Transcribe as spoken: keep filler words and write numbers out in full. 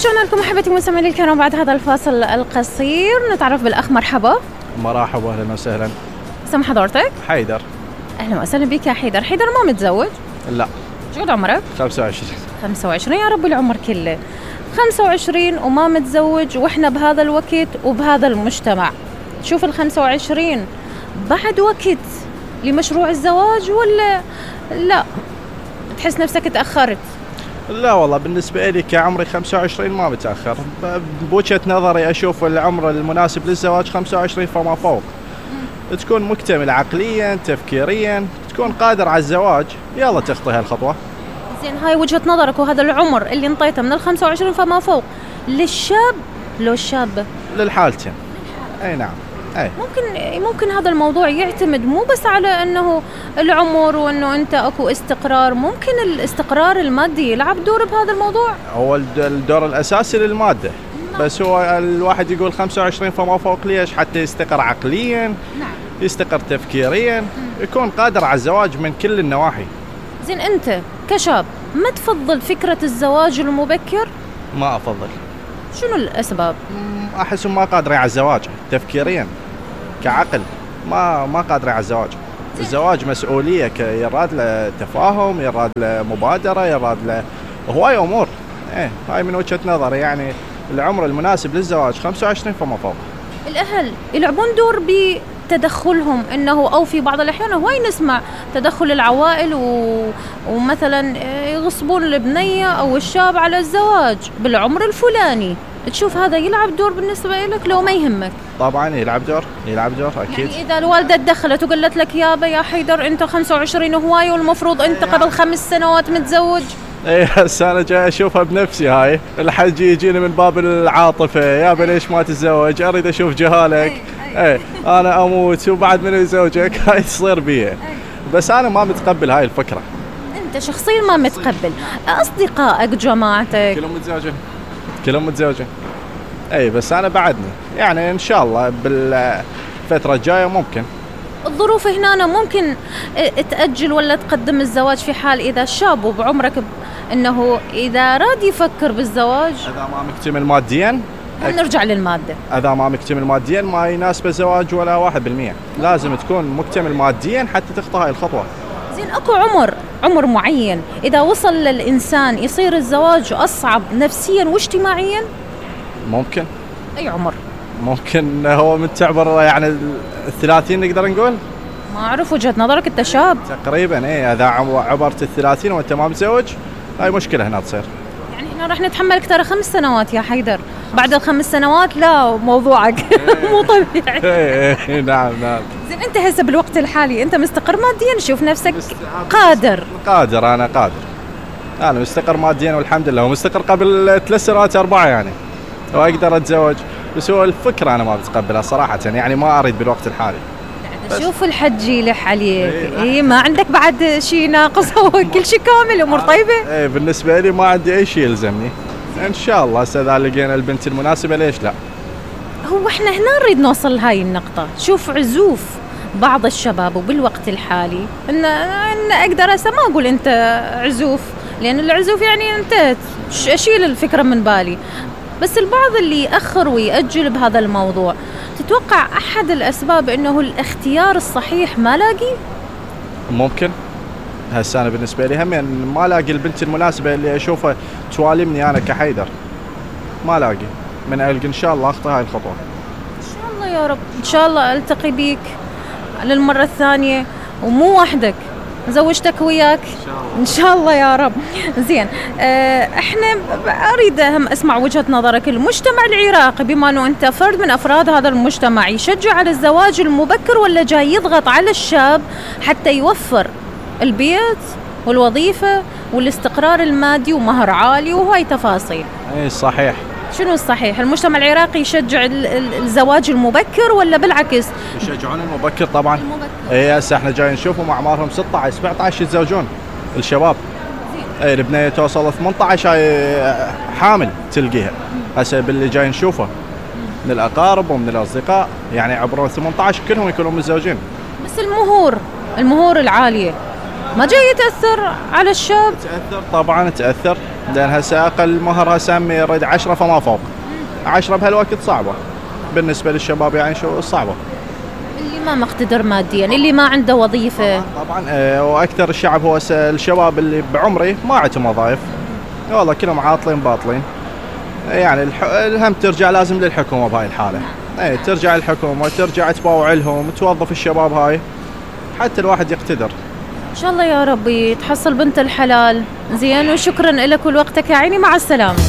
ورجعنا لكم احبتي مستمعين الكرام بعد هذا الفاصل القصير. نتعرف بالاخ. مرحبا. مرحبا، اهلا وسهلا. اسم حضرتك؟ حيدر. اهلا وسهلا بك يا حيدر. حيدر ما متزوج؟ لا. شو قد عمرك؟ خمسة وعشرين. خمسة وعشرين، يا رب العمر كله. خمسة وعشرين وما متزوج، واحنا بهذا الوقت وبهذا المجتمع. شوف ال خمسة وعشرين بعد وقت لمشروع الزواج ولا لا تحس نفسك تأخرت؟ لا والله، بالنسبة لي كعمري خمسة وعشرين ما متأخر. بوجهة نظري أشوف العمر المناسب للزواج خمسة وعشرين فما فوق. م. تكون مكتمل عقليا تفكيريا، تكون قادر على الزواج، يلا تخطي هالخطوة. زين، هاي وجهة نظرك وهذا العمر اللي انطيته من الخمسة وعشرين فما فوق للشاب لو الشابة؟ للحالتين. أي نعم. أي. ممكن ممكن هذا الموضوع يعتمد مو بس على انه العمر وانه انت اكو استقرار، ممكن الاستقرار المادي يلعب دور بهذا الموضوع. هو الدور الاساسي للماده، بس هو الواحد يقول خمسة وعشرين فما فوق ليش؟ حتى يستقر عقليا. نعم. يستقر تفكيريا. م. يكون قادر على الزواج من كل النواحي. زين، انت كشاب ما تفضل فكرة الزواج المبكر؟ ما افضل. شنو الاسباب؟ احس ما قادرين على الزواج تفكيريا كعقل، ما ما قادرين على الزواج. الزواج مسؤولية، يراد له تفاهم، يراد له مبادرة، يراد له هواي امور. ايه هاي من وجهة نظري، يعني العمر المناسب للزواج خمسة وعشرين فما فوق. الاهل يلعبون دور بتدخلهم، انه او في بعض الاحيان هواي نسمع تدخل العوائل و... ومثلا يغصبون البنية او الشاب على الزواج بالعمر الفلاني. تشوف هذا يلعب دور بالنسبة لك لو ما يهمك؟ طبعا يلعب دور، يلعب دور أكيد. يعني إذا الوالدة تدخلت وقالت لك يابا يا حيدر أنت خمسة وعشرين هواي والمفروض أنت قبل خمس سنوات متزوج. ايه هسه انا جاي اشوفها بنفسي. هاي الحج يجيني من باب العاطفة، يابا ليش ما تتزوج؟ اريد اشوف جهالك. ايه انا اموت وبعد من يزوجك. هاي تصير بيه. بس انا ما متقبل هاي الفكرة. انت شخصيا ما متقبل؟ اصدقائك جماعتك كلهم متزوجين؟ كلهم متزوجين. اي بس انا بعدني، يعني ان شاء الله بالفترة الجاية ممكن. الظروف هنا ممكن تأجل ولا تقدم الزواج في حال إذا شاب وبعمرك ب... إنه إذا راد يفكر بالزواج. إذا ما مكتمل ماديا. نرجع للمادة. إذا ما مكتمل ماديا ما يناسب الزواج ولا واحد بالمية. لازم تكون مكتمل ماديا حتى تخطى هاي الخطوة. زين، أكو عمر عمر معين إذا وصل للإنسان يصير الزواج أصعب نفسيا واجتماعيا؟ ممكن. أي عمر؟ ممكن هو من تعبر يعني الثلاثين نقدر نقول. ما أعرف، وجهة نظرك أنت شاب. تقريبا إيه، إذا عبرت الثلاثين وأنت ما متزوج هاي مشكلة هنا تصير. يعني إحنا راح نتحملك ترى خمس سنوات يا حيدر، بعد الخمس سنوات لا موضوعك مو طبيعي. إيه نعم نعم. زين، أنت هسه بالوقت الحالي أنت مستقر ماديا؟ شوف نفسك قادر؟ قادر، أنا قادر، أنا مستقر ماديا والحمد لله، ومستقر قبل ثلاث سنوات أربعة يعني، وأقدر أتزوج. بس هو الفكرة أنا ما بتقبلها صراحة، يعني ما أريد بالوقت الحالي. شوف الحج يلح عليك. إيه, إيه ما عندك بعد شيء ناقص؟ هو كل شيء كامل، أمور طيبة. إيه بالنسبة لي ما عندي أي شيء يلزمني إن شاء الله. إذا لقينا البنت المناسبة ليش لا. هو إحنا هنا نريد نوصل لهاي النقطة. شوف عزوف بعض الشباب وبالوقت الحالي إن إن أقدر هسه ما أقول أنت عزوف، لأن العزوف يعني أنت أشيل الفكرة من بالي، بس البعض اللي يأخر ويأجل بهذا الموضوع. تتوقع أحد الأسباب إنه الاختيار الصحيح ما لاقي؟ ممكن. هسه أنا بالنسبة لي هم يعني ما لاقي البنت المناسبة اللي أشوفها توالمني أنا كحيدر، ما لاقي. من ألقى إن شاء الله أخطي هاي الخطوة. إن شاء الله يا رب، إن شاء الله ألتقي بيك للمرة الثانية ومو وحدك، زوجتك وياك إن شاء الله يا رب. زين، اه احنا اريد هم اسمع وجهة نظرك. المجتمع العراقي بما انه انت فرد من افراد هذا المجتمع يشجع على الزواج المبكر ولا جاي يضغط على الشاب حتى يوفر البيت والوظيفة والاستقرار المادي ومهر عالي وهاي تفاصيل؟ اي صحيح. شنو الصحيح؟ المجتمع العراقي يشجع الزواج المبكر ولا بالعكس؟ يشجعون المبكر طبعا. اي هسه احنا جايين نشوفهم اعمارهم ستة عشر سبعة عشر يتزوجون الشباب. اي البنيه توصل ثمانية عشر حامل تلقيها. هسه باللي جاي نشوفه من الاقارب ومن الاصدقاء يعني عبر ثمانية عشر كلهم يكونون متزوجين. بس المهور المهور العاليه ما جاي يتاثر على الشاب؟ تاثر طبعا، تاثر لان هسه اقل مهر هسه عمي يريد عشرة فما فوق. عشرة بهالوقت صعبه بالنسبه للشباب، يعني شو صعبه. اللي ما مقتدر ماديا، اللي ما عنده وظيفه. طبعا آه، واكثر الشعب هو هسه الشباب اللي بعمري ما عندهم وظائف، والله كلهم عاطلين باطلين. يعني الح... الهم ترجع لازم للحكومه بهاي الحاله. اي ترجع الحكومه، ترجع تباوع لهم، توظف الشباب هاي حتى الواحد يقتدر. ان شاء الله يا ربي تحصل بنت الحلال. زين، وشكرا لك ولوقتك يا عيني، مع السلامه.